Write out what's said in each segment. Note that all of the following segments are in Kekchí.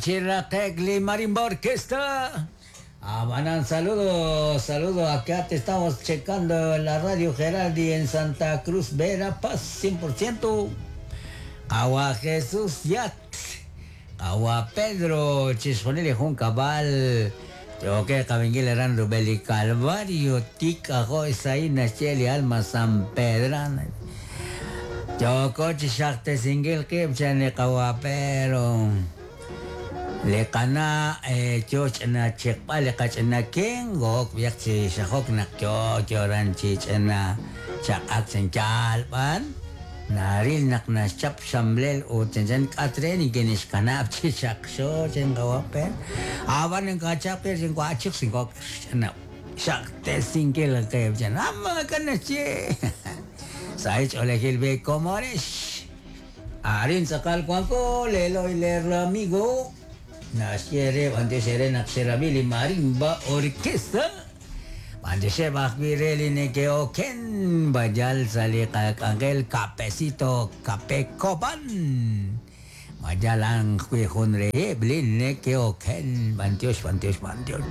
Chiraqek li Marimba Orquesta. Abanan, saludo, saludo. Acá te estamos checando en la radio Gerardi en Santa Cruz, Verapaz, 100%. Agua Jesús Yat. Agua Pedro, Chisjonili Jun Cabal. Yoke Kabingil Eran Rubeli Calvario, Tica, Joisaí, Nacheli, Alma, San Pedro. Yoko Chishakte Singil Kip, Chani Pero. Le qana choch na chiqpa le qach'na ken gok biaq chi xajok naq yo yoran chi ch'na chaq'ak chen chalb'an naril naq naxchap xamlel ut chanchan k'atre ni kinixkanab' chi xaqxo chen qawapen aban nkachap ke chen kwachik sin kok ch'na xaqtesinkil qeb chen amma kanache saich olejil be comoresh arin tz'aqal kuanko leloy ler amigo Nasciere, bandesere naxerabili marimba orquesta. Bandese bajbireli nekeoken bayal sali angel capecito capecoban. Mayalan junre blin nekeoken bantios bantios bantios.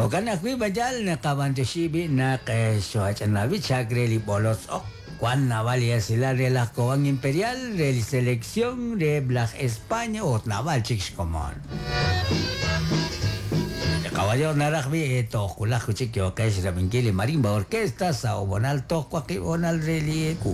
Okan akwi bayal nakabantosibi nak soachanabi chakreli bolos ok. Juan Naval y Asilar de la Cobán Imperial, de la Selección de Black España, o Naval Chicos Comón. Caballo Narajbi, eto, Julajo Chiquio, Kesh, Raminquili, Marimba, Orquesta, Saobonal, Tocuaqui, Bonal, Reliecu.